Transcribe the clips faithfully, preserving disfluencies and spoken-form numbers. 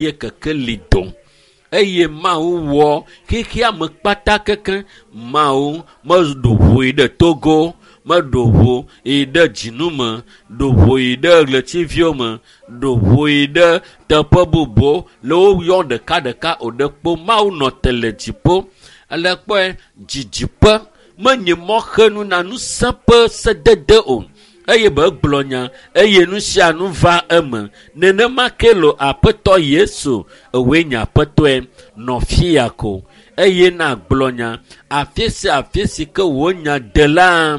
Ye kekeli do eye Mawu wɔ xexea me kpata keke. Mawu meɖo ʋu yi ɖe Togo, meɖo ʋu yi ɖe dzinu me, ɖo ʋu yi ɖe ɣletiviwo me, ɖo ʋu yi ɖe teƒe bubuwo le wo yɔm ɖekaɖeka o ɖe kpo Mawu nɔ te le dziƒo. Ele kpɔe dzidziƒe menye mɔxenu na ŋusẽ ƒe sedede o eye be gblɔ nya eye nu sia nu va eme. Nenema ke lo Aƒetɔ Yesu ewoe nye Aƒetɔe nɔ fia ko eye na gblɔ nya afi sia afi si ke wò nya de la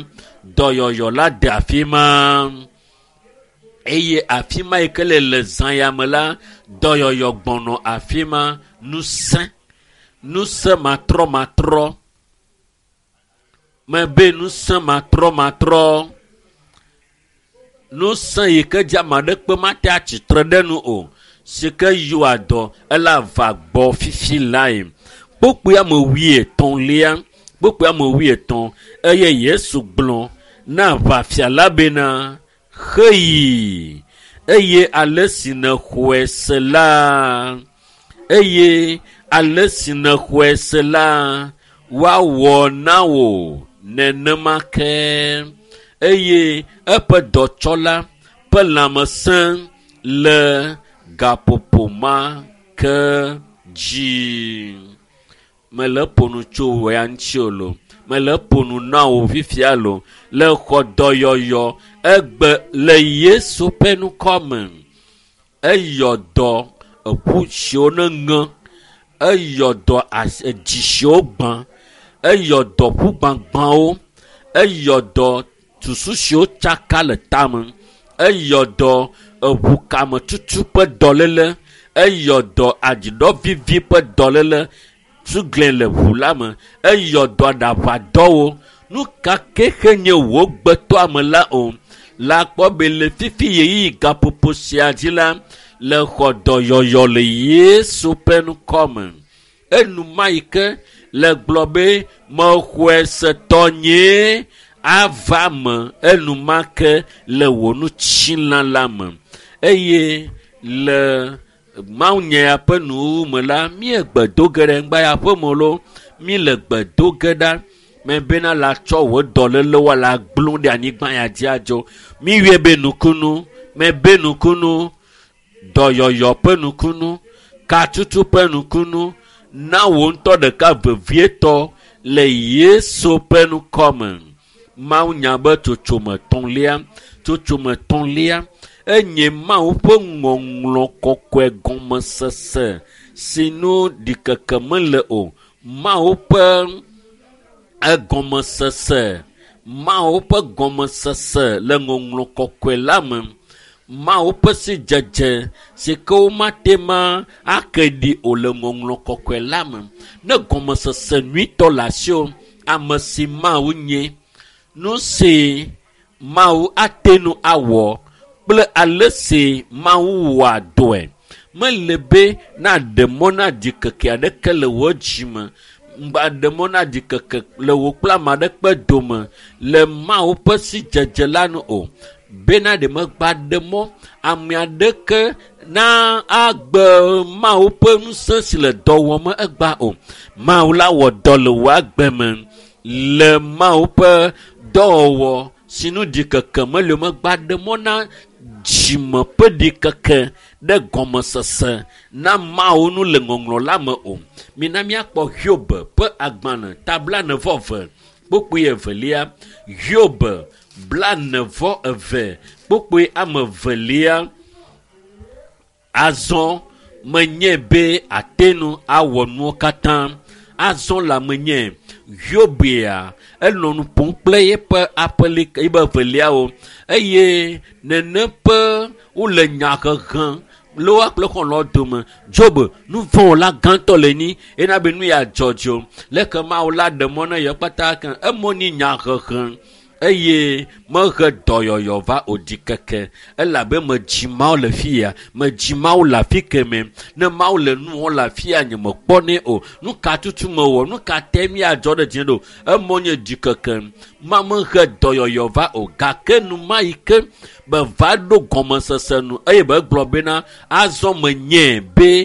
dɔyɔyɔ la de afi ma eye afi ma yi ke le le zã ya me la dɔyɔyɔ gbɔnɔ afi ma ŋusẽ ŋusẽ matrɔmatrɔ mebe ŋusẽ matrɔmatrɔ ŋusẽ yi ke dzi ame aɖekpe mate atsitre ɖe nu o si ke yɔa dɔ ele ava gbɔ fifi lae kpokpoe ame wuietɔ̃lia kpokpoe ame wuietɔ̃ eye Yesu gblɔ na aʋafia la bena xeyi eye ale si nèxɔe se la eye ale si nèxɔe se la woawɔ na wò nenema ke eye eƒe dɔtsɔla ƒe lãmesẽ le gaƒoƒo ma ke dzi. Mele ƒo nu tso wò ya ŋuti o lo. Mele ƒo nu na wò fifia lo. Le xɔ dɔyɔyɔ egbe le Yesu ƒe ŋkɔ me. Eyɔ dɔ eƒu siwo ne ŋe. Eyɔ dɔ edzi siwo gbã. Eyɔ dɔ ƒu gbagbãwo. Eyɔ dɔ susu siwo tsaka le tame. Eyɔ dɔ eʋukametutu ƒe dɔléle. Eyɔ dɔ adziɖɔvivi ƒe dɔléle. Sugle le ʋu la me. Eyɔ dɔ aɖaʋadɔwo. Nu ka ke xe nye wò gbetɔame la o. La kpɔ be le fifi ɣeyiɣi gaƒoƒo sia dzi la, le xɔ dɔyɔyɔ le Yesu ƒe ŋkɔ me. Enuma yi ke le gblɔ be mexɔe se tɔnyee ava me enumake le wò ŋutilã la me. Eye le mawunya ya ƒe nuwuwu me la, míegbe do ge ɖe ŋgba ya ƒe me lo, míele gbe do ge ɖa mebena la tsɔ wò dɔlélewo la gblɔ ɖe anyigba ya dzi adzo. Míyɔe be nukunu, mebe nukunu, dɔyɔyɔ ƒe nukunu, katutu ƒe nukunu, na wò ŋutɔ ɖeka vevietɔ le Yesu ƒe ŋkɔ me. Mawunya be tsotsome etɔ̃lia, tsotsome etɔ̃lia enye Mawu ƒe ŋɔŋlɔ kɔkɔe gɔmesese si nu ɖikeke mele o. Mawu ƒe egɔmesese, Mawu ƒe gɔmesese le ŋɔŋlɔ kɔkɔe la me. Mawu ƒe sidzedze si ke womate ma ake ɖi o le ŋɔŋlɔ kɔkɔe la me. Ne gɔmesese nyuitɔ le asiwò, ame si Mawu nye, nu si Mawu ate ŋu awɔ kple ale si Mawu wɔa dɔe. Mele be naɖe mɔ na ɖikeke aɖeke le wò dzime. Ŋgba ɖe mɔ na ɖikeke le wò kple ame aɖeke dome le Mawu ƒe sidzedze la nu o. Bena ɖe megba ɖe mɔ ame aɖeke na agbe Mawu ƒe ŋusẽ si le dɔ wɔm egba o. Mawu la wɔ dɔ le wò agbe me le Mawu ƒe dɔwɔwɔ si nu ɖikeke mele o megba ɖe mɔ na dzime ƒe ɖikeke ɖe gɔmesese na Mawu nu le ŋɔŋlɔ la me o. Mina míakpɔ Hiob ƒe agbalẽ ta blaene vɔ eve kpokpoe evelia. Hiob blaene vɔ eve kpokpoe ame evelia. Azɔ menye be ate ŋu awɔ nuwo katã. Azɔ la menye Hiobia enɔ nu ƒom kple eƒe aƒelika eƒe eveliawo eye neneƒe wole nya hehem le woa kple xɔlɔ̃ dome. Job nu vɔ̃wɔla gãtɔ le nyi ena be nu ya dzɔdzɔ. Leke Mawu la ɖe mɔ na yewo kpata ke emɔ nyi nya hehem eye mehe dɔyɔyɔ va o ɖikeke elabe medzi Mawu le fia, medzi Mawu le afi keme. Ne Mawu le nu wɔm le afia nye mekpɔnɛ o. Nu ka tutu mewɔ? Nu ka te míadzɔ ɖe dzi ɖo? Emɔ nye ɖikeke. Ma mehe dɔyɔyɔ va o gake nu ma yi ke be va ɖo gɔmesese nu eye be gblɔ bena azɔ menye be